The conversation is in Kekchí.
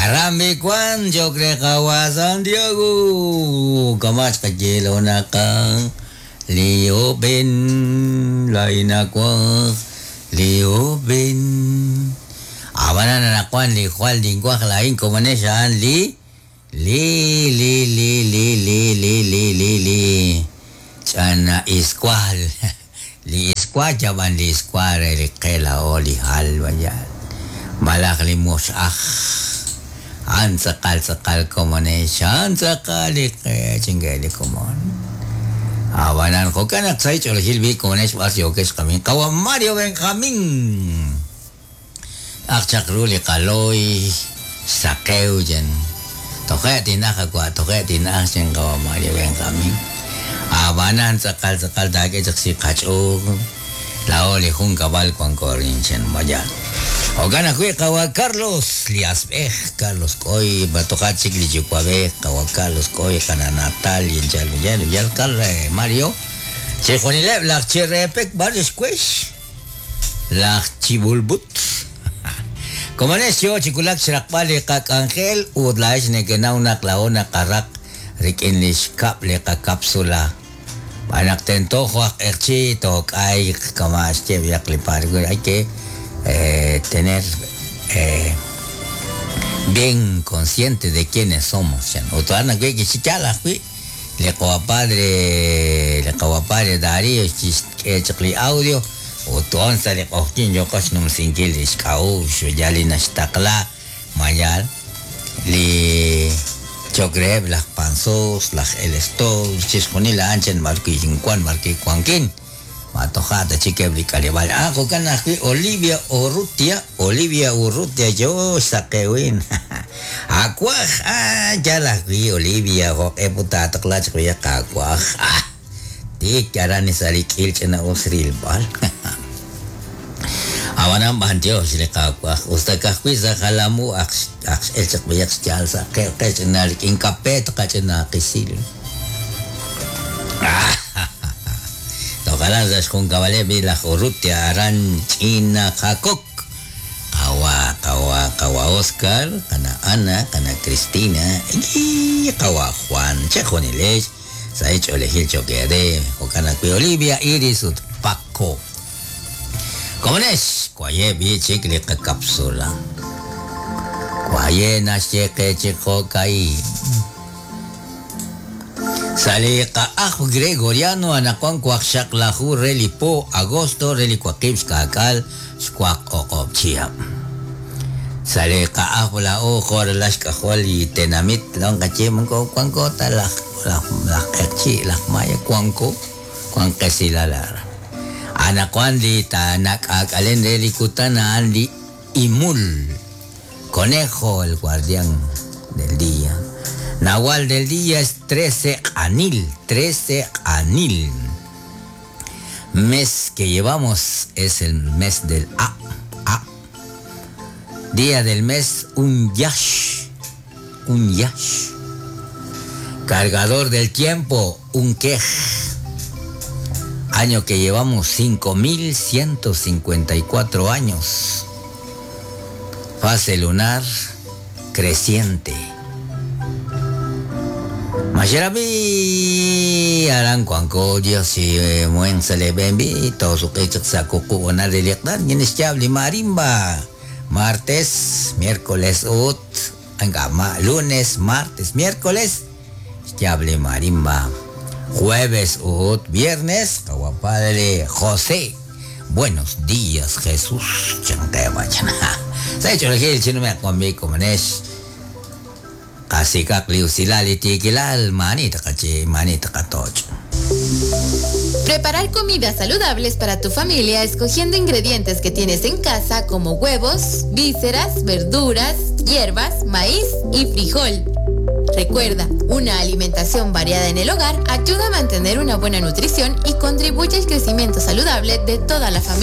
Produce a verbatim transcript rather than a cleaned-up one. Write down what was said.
Arambi kwan chokre qawa Santiago kamach kayelo naka Leo Ben laina kwa Leo Ben Abana na kwan li Juan lingua lain komanesha li li li li li li li li li li chana iskwal li iskwal jaban li iskwal li qela o li halwa ya malak li musaj an sakal sakal komanesha an sakal li chingeli komon Abanan jokanak say cholhil bi komanesh bas yokesh kamin kawa Mario Benjamín Akchak ruli kaloy sakeu jen toke tinaka kwa toke tinaka jen kawa Mario Benjamín Abanan sakal sakal dake chaksi kacho laoli jun kabal kwan korinchen mayan Ogana kwe kawa Carlos Liasbej Carlos Koy batokat chikli chikwabej kawa Carlos Koy kana Natal y en yal yal Carlos Mario Chijonileb lak chirepek varios kuesh lak chibulbut Komanesyo chikulak chirakpali kak Angel udlash nekenauna klaona karak rikinlish kap le kapsula anak tento juak erchi tok ay kamash che viak hay que eh, tener eh, bien consciente de quiénes somos otoana que que chichala hui le padre le padre Darío chis audio Oton sale okin yo kosnum singkil iskau yali nastakla mayal li chogreb las panzos las el estos chisconila anchen marqui incuan marqui cuanquin matojata chiquebli calibal ah cocana Olivia Urrutia Olivia Urrutia yo saquewin aquaj ah ya la vi Olivia jo eputa taqla chqya aquaj ah Tik arani salik ilchena osril bal. Awanam bantio silika ustakakwiza kalamu aks aks elchak biyak jalsa ke ke nalik inkapet kachena kisil. Tokalan sa kung kawale bila Urrutia aran China Hakok. Kawa kawa kawa Oscar kana Ana kana Cristina y kawa Juan Chejoniles. Sa hecho elegir choquere, Ocana Olivia, Iris, ut Paco. ¿Cómo es? Cuaye bi chicle cápsula. Cuaye nashe que chico kai. Sale ka gregoriano anakuan kuakshak lahu relipo agosto relicuakibs kakal squak okop chia. Sale ka la ojo las cajol y tenamit long kache mangko kuanko talak la chi la maya kuanko kuan kesilalar anakuan di tanak akalen relikutana andi imul conejo el guardián del día nahual del día es trece anil trece anil mes que llevamos es el mes del A A día del mes un yash un yash cargador del tiempo, un quej. Año que llevamos cinco mil ciento cincuenta y cuatro años. Fase lunar creciente. Mashirabi aran cuanco Dios y muen se le benvi todo su que sacucu ona de liqdan yenis marimba. Martes, miércoles ut, angama, lunes, martes, miércoles. Yable marimba. Jueves ut viernes, padre José. Buenos días, Jesús. Se ha hecho el gil, chino me conmigo, manesh. Preparar comidas saludables para tu familia escogiendo ingredientes que tienes en casa como huevos, vísceras, verduras, hierbas, maíz y frijol. Recuerda, una alimentación variada en el hogar ayuda a mantener una buena nutrición y contribuye al crecimiento saludable de toda la familia.